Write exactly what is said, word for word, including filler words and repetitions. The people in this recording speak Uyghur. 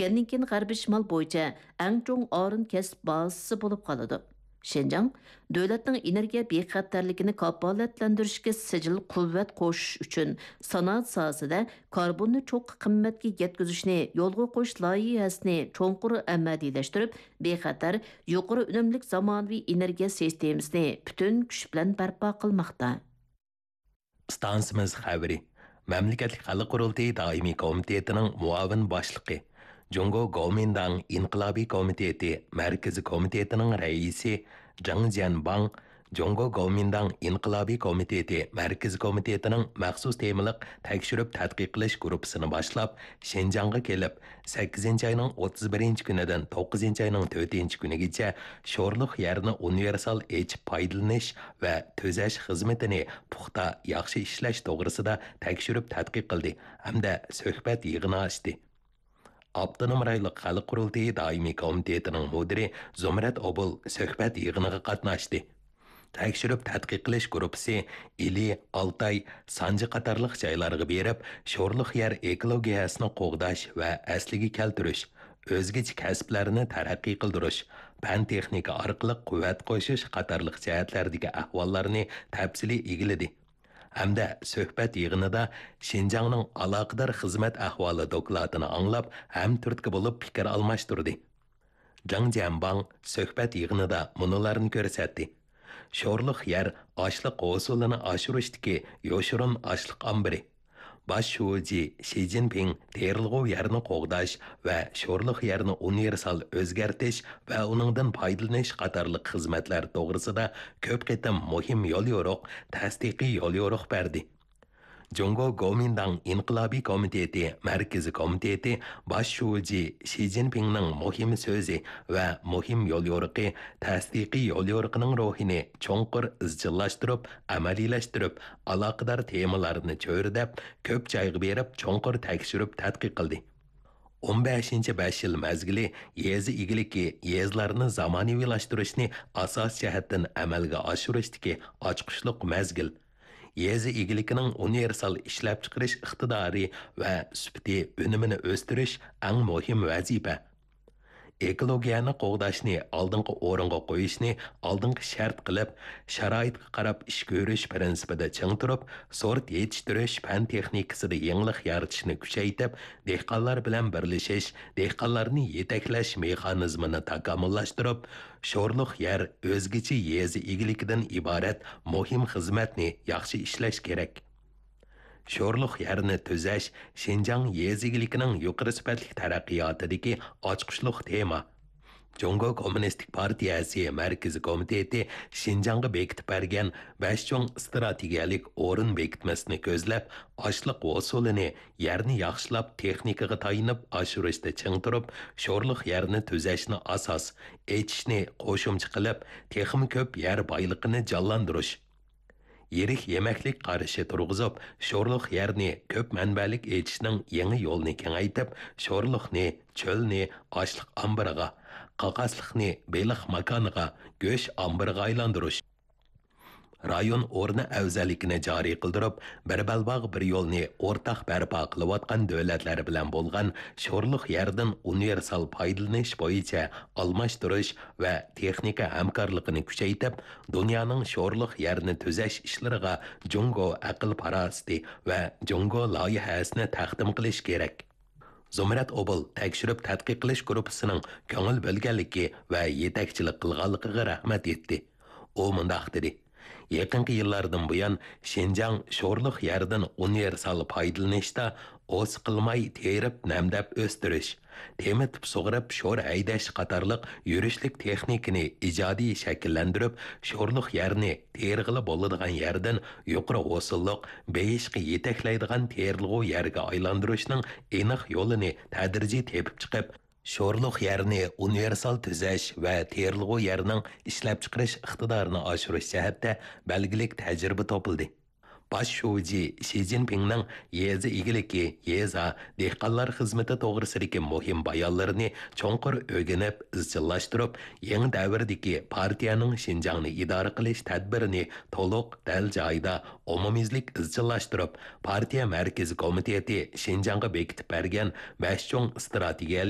پۈتكەندىن كېيىن غەربىي شىمال بويىچە ئەڭ چوڭ ئارۇن كەسىپ بازىسى بولۇپ قالىدۇ. شىنجاڭ دۆلەتنىڭ ئېنېرگىيە بىخەتەرلىكىنى كاپالەتلەندۈرۈشكە سىجىل قۇۋۋەت قوشۇش ئۈچۈن سانائەت ساھەسىدە كاربوننى چوڭقۇر قىممەتكە يەتكۈزۈشنى يولغا قويۇش لايىھەسىنى چوڭقۇر ئەمەلىيلەشتۈرۈپ، بىخەتەر، يۇقىرى ئۈنۈملۈك زامانىۋى ئېنېرگىيە سىستېمىسىنى پۈتۈن كۈچ بىلەن بەرپا قىلماقتا. ئىستانسىمىز خەۋىرى. مەملىكەتلىك خەلق قۇرۇلتىيى دائىمىي كومىتېتىنىڭ مۇئاۋىن باشلىقى، جۇڭگو گومىنداڭ ئىنقىلابىي كومىتېتى مەركىزىي كومىتېتىنىڭ رەئىسى جېڭ جيەنباڭ، جۇڭگو گومىنداڭ ئىنقىلابىي كومىتېتى مەركىزىي كومىتېتىنىڭ مەخسۇس تېمىلىق تەكشۈرۈپ تەتقىق قىلىش گۇرۇپپىسىنى باشلاپ، شىنجاڭغا كېلىپ، سەككىزىنچى ئاينىڭ ئوتتۇز بىرىنچى كۈنىدىن توققۇزىنچى ئاينىڭ تۆتىنچى كۈنىگىچە شورلۇق يەرنى ئۇنىۋېرسال ئېچىپ پايدىلىنىش ۋە تۈزەش خىزمىتىنى پۇختا، ياخشى ئىشلەش توغرىسىدا تەكشۈرۈپ تەتقىق قىلدى ھەمدە سۆھبەت يىغىنى ئاچتى. ئاپتونوم رايونلۇق خەلق قۇرۇلتىيى دائىمىي كومىتېتىنىڭ مۇدىرى زۇمرەت ئوبۇل سۆھبەت يىغىنىغا قاتناشتى. تەكشۈرۈپ تەتقىق قىلىش گۇرۇپپىسى ئىلى، ئالتاي، سانجى قاتارلىق جايلارغا بېرىپ، شورلۇق يەر ئېكولوگىيەسىنى قوغداش ۋە ئەسلىگە كەلتۈرۈش، ئۆزگىچە كەسىپلەرنى تەرەققىي قىلدۇرۇش، پەن-تېخنىكا ئارقىلىق قۇۋۋەت قوشۇش قاتارلىق جەھەتلەردىكى ئەھۋاللارنى تەپسىلىي ئىگىلىدى ھەمدە سۆھبەت يىغىنىدا شىنجاڭنىڭ ئالاقىدار خىزمەت ئەھۋالى دوكلاتىنى ئاڭلاپ، ھەمتۈرتكە بولۇپ پىكىر ئالماشتۇردى. جاڭ جيەنباڭ سۆھبەت يىغىنىدا مۇنۇلارنى كۆرسەتتى: شورلۇق يەر ئاشلىق ھوسۇلىنى ئاشۇرۇشتىكى يوشۇرۇن ئاشلىق ئامبىرى. باش شۇجى شى جىنپىڭ تېرىلغۇ يەرنى قوغداش ۋە شورلۇق يەرنى ئۇنىۋېرسال ئۆزگەرتىش ۋە ئۇنىڭدىن پايدىلىنىش قاتارلىق خىزمەتلەر توغرىسىدا كۆپ قېتىم مۇھىم يوليورۇق، تەستىقىي يوليورۇق بەردى. جۇڭگو گومىنداڭ ئىنقىلابىي كومىتېتى مەركىزىي كومىتېتى باش شۇجى شى جىنپىڭنىڭ مۇھىم سۆزى ۋە مۇھىم يوليورۇقى، تەستىقىي يوليورۇقىنىڭ روھىنى چوڭقۇر ئىزچىللاشتۇرۇپ، ئەمەلىيلەشتۈرۈپ، ئالاقىدار تېمىلارنى چۆرىدەپ، كۆپ جايغا بېرىپ، چوڭقۇر تەكشۈرۈپ تەتقىق قىلدى. ئون بەشىنچى بەش يىل مەزگىلى يېزا ئىگىلىكى، يېزىلارنى زامانىۋىلاشتۇرۇشنى ئاساسىي جەھەتتىن ئەمەلگە ئاشۇرۇشتىكى ئاچقۇچلۇق مەزگىل. يېزا ئىگىلىكىنىڭ ئۇنىۋېرسال ئىشلەپچىقىرىش ئىقتىدارى ۋە سۈپىتى، ئۈنۈمىنى ئۆستۈرۈش ئەڭ مۇھىم ۋەزىپە. ئېكولوگىيەنى قوغداشنى ئالدىنقى ئورۇنغا قويۇشنى ئالدىنقى شەرت قىلىپ، شارائىتقا قاراپ ئىش كۆرۈش پىرىنسىپىدا چىڭ تۇرۇپ، سورت يېتىشتۈرۈش پەن تېخنىكىسىدا يېڭىلىق يارىتىشنى كۈچەيتىپ، دېھقانلار بىلەن بىرلىشىش، دېھقانلارنى يېتەكلەش مېخانىزمىنى تاكامۇللاشتۇرۇپ، شورلۇق يەر ئۆزگىچە يېزا ئىگىلىكىدىن ئىبارەت مۇھىم خىزمەتنى ياخشى ئىشلەش كېرەك. شورلۇق يەرنى تۈزەش شىنجاڭ يېزا ئىگىلىكىنىڭ يۇقىرى سۈپەتلىك تەرەققىياتىدىكى ئاچقۇچلۇق تېما. جۇڭگو كوممۇنىستىك پارتىيەسى مەركىزىي كومىتېتى شىنجاڭغا بېكىتىپ بەرگەن بەش چوڭ ئىستراتېگىيەلىك ئورۇن بېكىتمىسىنى كۆزلەپ، ئاشلىق ھوسۇلىنى يەرنى ياخشىلاپ، تېخنىكىغا تايىنىپ ئاشۇرۇشتا چىڭ تۇرۇپ، شورلۇق يەرنى تۈزەشنى ئاساس، ئېچىشنى قوشۇمچە قىلىپ، تېخىمۇ كۆپ يەر بايلىقىنى جانلاندۇرۇش. يىرىك يېمەكلىك قارىشى تۇرغۇزۇپ، شورلۇق يەرنى كۆپ مەنبەلىك ئېچىشنىڭ يېڭى يولىنى كېڭەيتىپ، شورلۇقنى، چۆلنى ئاشلىق ئامبىرىغا، قاقاسلىقنى بېلىق ماكانىغا، گۆش ئامبىرىغا ئايلاندۇرۇش. رايون ئورنى ئەۋزەللىكىنى جارى قىلدۇرۇپ، بىر بەلباغ، بىر يولنى ئورتاق بەرپا قىلىۋاتقان دۆلەتلەر بىلەن بولغان شورلۇق يەردىن ئۇنىۋېرسال پايدىلىنىش بويىچە ئالماشتۇرۇش ۋە تېخنىكا ھەمكارلىقىنى كۈچەيتىپ، دۇنيانىڭ شورلۇق يەرنى تۈزەش ئىشلىرىغا جۇڭگو ئەقىل-پاراسىتى ۋە جۇڭگو لايىھەسىنى تەقدىم قىلىش كېرەك. زۇمرەت ئوبۇل تەكشۈرۈپ تەتقىق قىلىش گۇرۇپپىسىنىڭ كۆڭۈل بۆلگەنلىكى ۋە يېتەكچىلىك قىلغانلىقىغا رەھمەت ئېيتتى. ئۇ مۇنداق دېدى: يېقىنقى يىللاردىن بۇيان، شىنجاڭ شورلۇق يەردىن ئۇنىۋېرسال پايدىلىنىشتا ئوس قىلماي تېرىپ نەمدەپ ئۆستۈرۈش، تېمىتىپ سۇغىرىپ شور ھەيدەش قاتارلىق يۈرۈشلۈك تېخنىكىنى ئىجادىي شەكىللەندۈرۈپ، شورلۇق يەرنى تېرىغىلى بولىدىغان يەردىن يۇقىرى ھوسۇللۇق، بېيىشقا يېتەكلەيدىغان تېرىلغۇ يەرگە ئايلاندۇرۇشنىڭ ئېنىق يولىنى تەدرىجىي تېپىپ چىقىپ، شورلۇق يەرنى ئۇنىۋېرسال تۈزەش ۋە تېرىلغۇ يەرنىڭ ئىشلەپچىقىرىش ئىقتىدارىنى ئاشۇرۇش جەھەتتە بەلگىلىك تەجرىبە توپلىدى. باش شۇجى شى جىنپىڭنىڭ يېزا ئىگىلىكى، يېزا، دېھقانلار خىزمىتى توغرىسىدىكى مۇھىم بايانلىرىنى چوڭقۇر ئۆگىنىپ، ئىزچىللاشتۇرۇپ، يېڭى دەۋردىكى پارتىيەنىڭ شىنجاڭنى ئىدارە قىلىش تەدبىرىنى تولۇق، دەل جايىدا، ئومۇميۈزلۈك ئىزچىللاشتۇرۇپ، پارتىيە مەركىزىي كومىتېتى شىنجاڭغا بېكىتىپ بەرگەن بەش چوڭ ئىستراتېگىيەلىك